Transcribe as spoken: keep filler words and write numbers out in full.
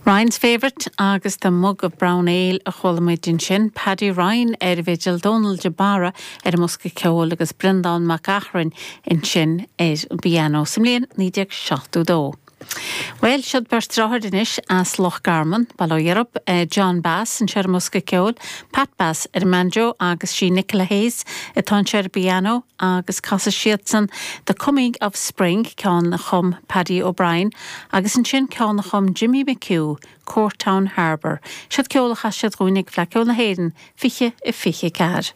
Ryan's Favourite agus the Mug of Brown Ale a chuala muid ansin, Paddy Ryan ar an bhfidil Dónal de Barra ar an mbosca ceoil agus Breandán Mac Eachrain ansin ar an bpianó sa mbliain naoi déag seachtó dó. Well siod beirt deartháir anois as Loch Garman, Baile Ó Dheirb, eh, John Bass anseo ar an mbosca ceoil, Pat Bass ar an mbanjo agus sí Nicola Hayes atá anseo ar an bpianó agus casfaidh siadsan The Coming of Spring ceann a chum Paddy O'Brien agus ansin ceann a chum Jimmy McHugh, Courtown Harbour. Siod ceol a chas siad dúinn ag Fleadh Cheoil na hÉireann fiche a fiche ceathair.